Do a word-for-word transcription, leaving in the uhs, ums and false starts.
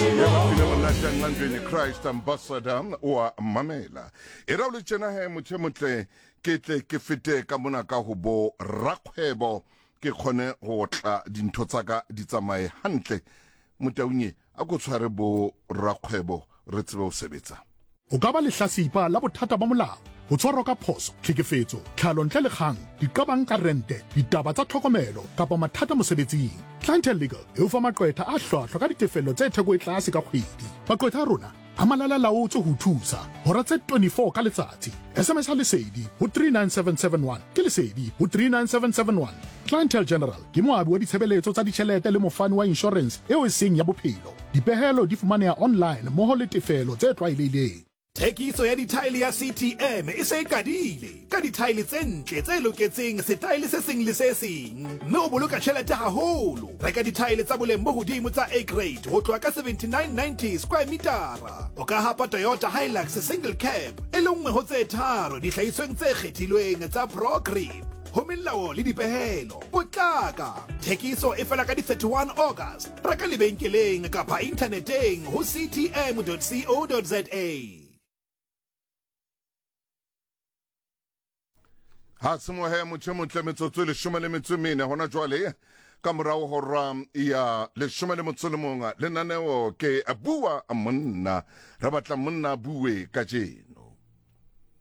Monate Christ Ambassador oa mamela e ra o le tjena he motho e motle ke tle ke fete ka mona ka ho bo rakgwebo ke kgone ho tla dintho tsa ka di tsamaye hantle. Motaunye a ko tshware bo rakgwebo re tsebe ho sebetsa. O ka ba lehlasipa la bothata ba molao, ho tshwarwa ka phoso, tlhekefetso, tlhalo ntle le kgang, diqabang ka rente, ditaba tsa tlhokomelo kapa mathata mosebetsing. Clientele Legal e o fa maqwetha a hlwahlwa ka ditefello tse theko e tlase ka kgwedi. Maqwetha a rona a malala-laotswe ho thusa hora tse twenty-four ka letsatsi. S M S a Lesedi ho three nine seven seven one ke Lesedi ho three nine seven seven one. Clientele General ke moabi wa ditshebeletso tsa ditjhelete le mofani wa insurance eo e seng ya bophelo. Dipehelo di fumaneha online mmoho le tefelo tse tlwaelehileng. Thekiso ya dithaele ya C T M e se e qadile ka dithaele tse ntle tse loketseng setaele se seng le se seng, mme o boloka tjhelete haholo. Reka dithaele tsa boleng bo hodimo tsa A grade ho tloha ka seventy-nine ninety square metara. O ka hapa Toyota Hilux single cab e le nngwe ho tse tharo dihlahisweng tse kgethilweng tsa ProGrip. Ho melao le dipehelo, potlaka. Thekiso e fela ka di thirty-one August. Reka lebenkeleng kapa inthaneteng ho c t m dot co dot z a. Ha semohe motho motle metsotso leshome le metso mene hona jwale ka morao hora ya leshome le motso le mong lenaneo ke bua monna re batla monna bue kajeno.